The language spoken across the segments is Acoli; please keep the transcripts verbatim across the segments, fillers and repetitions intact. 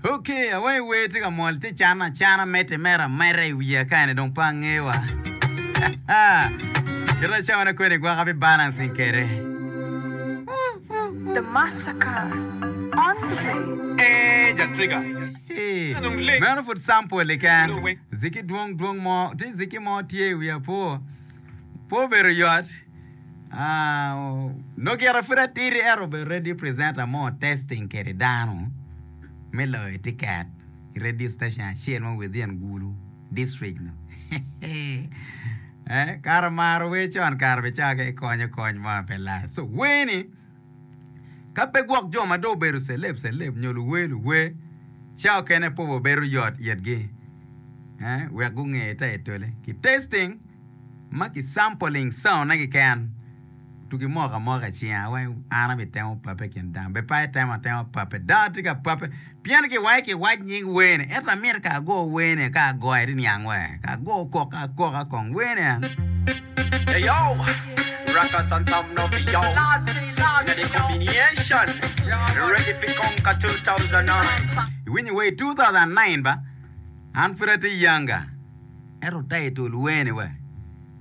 Okay, awayi wer tye ka mol tye cana acana medde mere ameda i wiya kani dong pe angeyo wa. Kit cawane kwede gwaka bi balancing kwede. The Massacre on the way. Eh, Jack Trigger. Hey, Anong leng. Meno pud sample keken. Weng. Ziki dwong dwong mo, tye ziki mo tye i wiya po. Po obedo yot. Ah, nongo gire pud atidi ento obedo radio presenter mo testing kede dano me loyo ticket i radio station acel mo within Gulu district no. eh, kare maro wer con kare be cawa ke konyo kony mo pe lac. So wer ni ka pe gwok jo ma dong obedo celeb celeb nyo luwer luwer cawa okene pe obedo yot itgi eh, wek gunge title ki testing ma ki sampling sound ne keken tugi moko amoka i cinga wai an abitemo pape kin dano be pe itemo atema pape dano tye ka pape pien ki wai kiwac nying wer ni ento amito ka ago wer ni ka agoyo iti niang we ka ago kok akoka kong wer ni en Hey yo, Rockers and Tom no for yo. Inna the combination, ready for conquer two thousand nine. Iwinyo wer two thousand nine ba an pud atye younger ento title wer ni we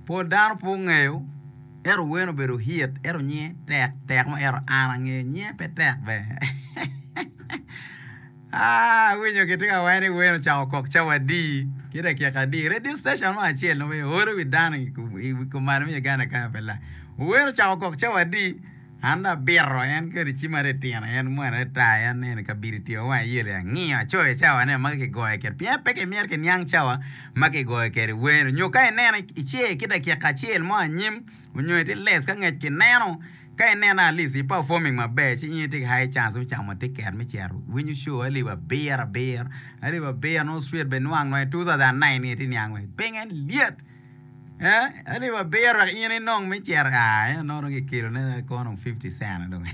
pol dano pe ongeyo ento wer obedo hit ento nyinge tek tek mo ento an angeyo nyinge pe tek be. Ah, awinyo kitye ka waco ni wer ocako kok cawa adi ki dakika adi radio station mo acel nongo oro wi dano i kumalo me Uganda kany pe la wer ocako kok cawa adi an dong abito en kodi cim ade tino en mwana tar en eni kabiri tye wang ayelo angiyo acoyo cawane ma kigoyo kwede pien pe kimito kiniang cawa ma kigoyo kwede wer nyo ka ineno ice ki dakika acel mo anyim onyo itye less ka ngec kineno ka ineno at least i performing maber ci in itye ki high chance me camo ticket me cito winyo show alip abiro abiro alip abiro nongo straight be nwang nongo i two thousand nine ni itye niang we pinge lyet eh alip abiro wek in inong me cito ah eno nongo dong kikelo ne kono fifty cent dong.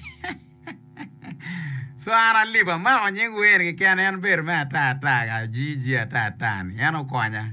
So an alip amako nying wer keken en bedo me ata ata ka G G ata ata ni en okonya.